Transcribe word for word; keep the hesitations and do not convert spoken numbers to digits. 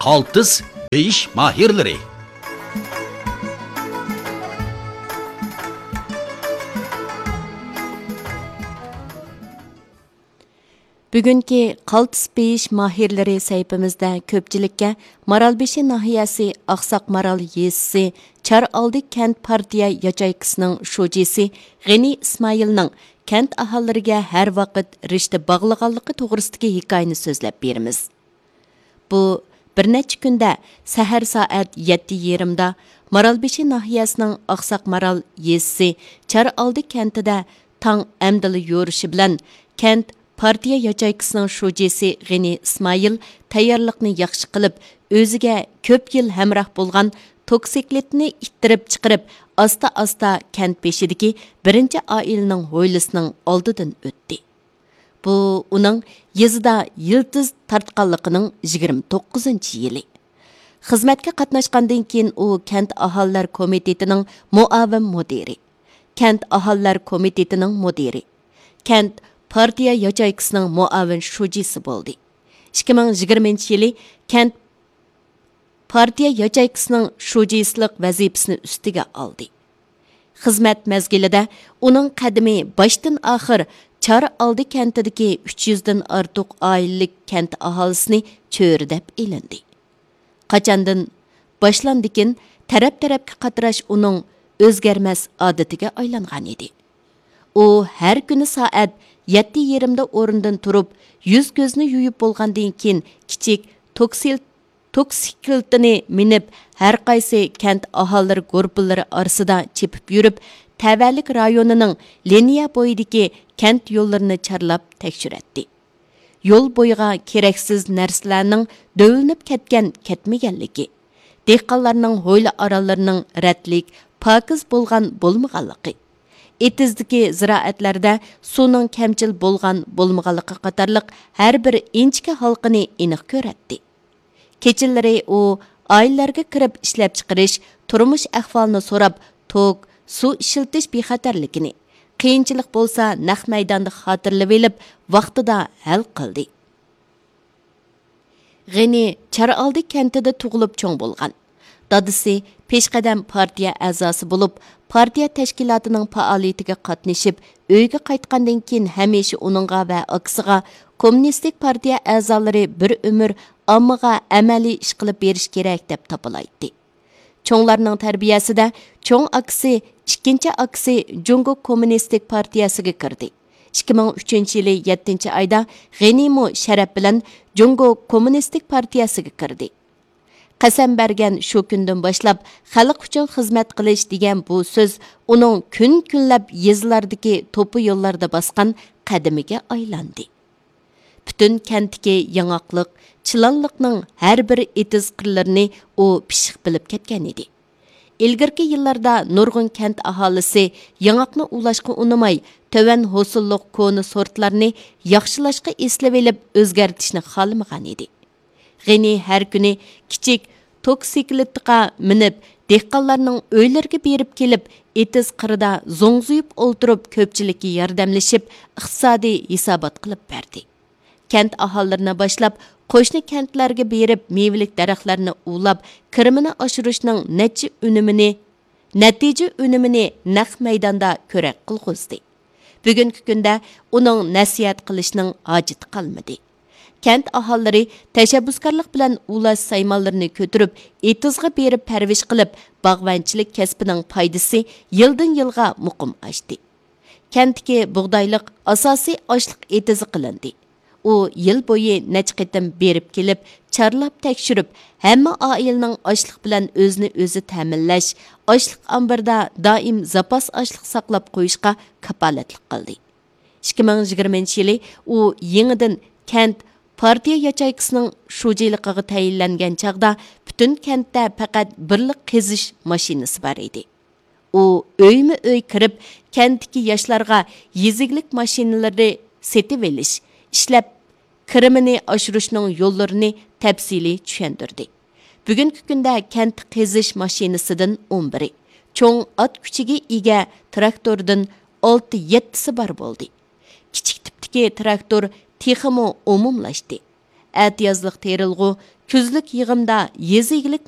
قالتىس بېيىش ماھىرلىرى. بۈگۈنكى قالتىس بېيىش ماھىرلىرى سەھىپىمىزدە كۆپچىلىككە مارالبېشى ناھىيەسى ئاقساق مارال يېزىسى چارئالدى كەنت پارتىيە ياچېيكىسىنىڭ شۇجىسى غېنى ئىسمائىلنىڭ كەنت ئاھالىلىرىگە ھەر ۋاقىت رىشتە باغلىغانلىقى توغرىسىدىكى ھېكايىنى سۆزلەپ بېرىمىز. بۇ بىر نەچچە كۈندە سەھەر سائەت يەتتە يېرىمدا مارالبېشى ناھىيەسىنىڭ ئاقساق مارال يېزىسى چارئالدى كەنتىدە تاڭ ئەمدىلا يورۇشى بىلەن كەنت پارتىيە ياچېيكىسىنىڭ شۇجىسى غېنى ئىسمائىل تەييارلىقنى ياخشى قىلىپ، ئۆزىگە كۆپ يىل ھەمراھ بولغان توكسىكلىتنى ئىتتىرىپ چىقىرىپ، ئاستا-ئاستا كەنت بېشىدىكى بىرىنچى ئائىلىنىڭ ھويلىسىنىڭ ئالدىدىن ئۆتتى. بۇ ئۇنىڭ يېزىدا يىلتىز تارتقانلىقىنىڭ يىگىرمە توققۇزىنچى يىلى. خىزمەتكە قاتناشقاندىن كېيىن ئۇ كەنت ئاھالىلەر كومىتېتىنىڭ مۇئاۋىن مۇدىرى، كەنت ئاھالىلەر كومىتېتىنىڭ مۇدىرى، كەنت پارتىيە ياچېيكىسىنىڭ مۇئاۋىن شۇجىسى بولدى. ئىككى مىڭ يىگىرمىنچى يىلى كەنت پارتىيە ياچېيكىسىنىڭ شۇجىسىلىق ۋەزىپىسىنى ئۈستىگە ئالدى. خىزمەت مەزگىلىدە ئۇنىڭ قەدىمى باشتىن ئاخىر چارئالدى كەنتىدىكى ئۈچ يۈزدىن ئارتۇق ئائىلىلىك كەنت ئاھالىسىنى چۆرىدەپ ئېلىندى. قاچاندىن باشلاندىكىن تەرەپ-تەرەپكە قاتراش ئۇنىڭ ئۆزگەرمەس ئادىتىگە ئايلانغان ئىدى. ئۇ ھەر كۈنى سائەت يەتتە يېرىمدا ئورنىدىن تۇرۇپ، يۈز-كۆزنى يۇيۇپ بولغاندىن كېيىن، كىچىك توكسىل-، توكسىكلىتىنى مىنىپ، ھەر قايسى كەنت ئاھالىلىرى گۇرۇپپىلىرى ئارىسىدا چېپىپ يۈرۈپ، تەۋەلىك رايونىنىڭ لىنىيە بويىدىكى كەنت يوللىرىنى چارلاپ تەكشۈرەتتى. يول بويىغا كېرەكسىز نەرسىلەرنىڭ دۆۋىلىنىپ كەتكەن-كەتمىگەنلىكى، دېھقانلارنىڭ ھويلا ئارانلىرىنىڭ رەتلىك، پاكىز بولغان-بولمىغانلىقى، ئېتىزدىكى زىرائەتلەردە سۇنىڭ كەمچىل بولغان-بولمىغانلىقى قاتارلىق ھەر بىر ئىنچىكە ھالقىنى ئېنىق كۆرەتتى. كېچىلىرى ئۇ ئائىلىلەرگە كىرىپ ئىشلەپچىقىرىش، تۇرمۇش ئەھۋالىنى سوراپ، توك، سۇ ئىشلىتىش بىخەتەرلىكىنى، قىيىنچىلىق بولسا نەق مەيداندا خاتىرىلىۋېلىپ، ۋاقتىدا ھەل قىلدى. غېنى چارئالدى كەنتىدە تۇغۇلۇپ چوڭ بولغان. دادىسى پېشقەدەم پارتىيە ئەزاسى بولۇپ، پارتىيە تەشكىلاتىنىڭ پائالىيىتىگە قاتنىشىپ، ئۆيگە قايتقاندىن كېيىن ھەمىشە ئۇنىڭغا ۋە ئاكىسىغا كوممۇنىستىك پارتىيە ئەزالىرى بىر ئۆمۈر ئاممىغا ئەمەلىي ئىش قىلىپ بېرىش كېرەك دەپ تاپىلايتتى. چوڭلارنىڭ تەربىيەسىدە چوڭ ئاكىسى، ئىككىنچى ئاكىسى جۇڭگو كوممۇنىستىك پارتىيەسىگە كىردى. ئىككى مىڭ ئۈچىنچى يىلى يەتتىنچى ئايدا غېنىمۇ شەرەپ بىلەن جۇڭگو كوممۇنىستىك پارتىيەسىگە كىردى. قەسەم بەرگەن شۇ كۈندىن باشلاپ خەلق ئۈچۈن خىزمەت قىلىش دېگەن بۇ سۆز ئۇنىڭ كۈن-كۈنلەپ يېزىلاردىكى توپا يوللاردا باسقان قەدىمىگە ئايلاندى. پۈتۈن كەنتتىكى ياڭاقلىق، چىلانلىقنىڭ ھەر بىر ئېتىز-قىرلىرىنى ئۇ پىششىق بىلىپ كەتكەن ئىدى. ئىلگىرىكى يىللاردا نۇرغۇن كەنت ئاھالىسى ياڭاقنى ئۇۋۇلاشقا ئۇنىماي، تۆۋەن ھوسۇللۇق كونا سورتلارنى ياخشىلاشقا ئېسىلىۋېلىپ ئۆزگەرتىشنى خالىمىغان ئىدى. غېنى ھەر كۈنى كىچىك توكسىكلىتقا مىنىپ، دېھقانلارنىڭ ئۆيلىرىگە بېرىپ كېلىپ، ئېتىز قىرىدا زوڭزىيىپ ئولتۇرۇپ، كۆپچىلىككە ياردەملىشىپ، ئىقتىسادىي ھېسابات قىلىپ بەردى. كەنت ئاھالىلىرىنى باشلاپ، قوشنا كەنتلەرگە بېرىپ، مېۋىلىك دەرەخلەرنى ئۇۋۇلاپ، كىرىمىنى ئاشۇرۇشنىڭ نەچچە ئۈنۈمىنى، نەتىجە ئۈنۈمىنى نەق مەيداندا كۆرەك قىلغۇزدى. بۈگۈنكى كۈندە ئۇنىڭ نەسىھەت قىلىشنىڭ ھاجىتى قالمىدى. كەنت ئاھالىلىرى تەشەببۇسكارلىق بىلەن ئۇۋۇلاش سايمانلىرىنى كۆتۈرۈپ، ئېتىزغا بېرىپ پەرۋىش قىلىپ، باغۋەنچىلىك كەسپىنىڭ پايدىسى يىلدىن يىلغا مۇقىم ئاشتى. كەنتتىكى بۇغدايلىق ئاساسىي ئاشلىق ئېتىزى قىلىندى. ئۇ يىل بويى نەچچە قېتىم بېرىپ كېلىپ، چارلاپ تەكشۈرۈپ، ھەممە ئائىلىنىڭ ئاشلىق بىلەن ئۆزىنى ئۆزى تەمىنلەش، ئاشلىق ئامبىرىدا دائىم زاپاس ئاشلىق ساقلاپ قويۇشقا كاپالەتلىك قىلدى. ئىككى مىڭ يىگىرمىنچى يىلى ئۇ يېڭىدىن كەنت پارتىيە ياچېيكىسىنىڭ شۇجىلىقىغا تەيىنلەنگەن چاغدا پۈتۈن كەنتتە پەقەت بىرلا قېزىش ماشىنىسى بار ئىدى. ئۇ ئۆيمۇ ئۆي كىرىپ، كەنتتىكى ياشلارغا يېزا ئىگىلىك ماشىنىلىرى سېتىۋېلىش، ئىشلەپ كىرىمىنى ئاشۇرۇشنىڭ يوللىرىنى تەپسىلىي چۈشەندۈردى. بۈگۈنكى كۈندە كەنت قېزىش ماشىنىسىدىن ئون بىرى، چوڭ ئات كۈچىگە ئىگە تىراكتوردىن ئالتە يەتتىسى بار بولدى. كىچىك تىپتىكى تىراكتور تېخىمۇ ئومۇملاشتى. ئەتىيازلىق تېرىلغۇ، كۈزلۈك يىغىمدا يېزا ئىگىلىك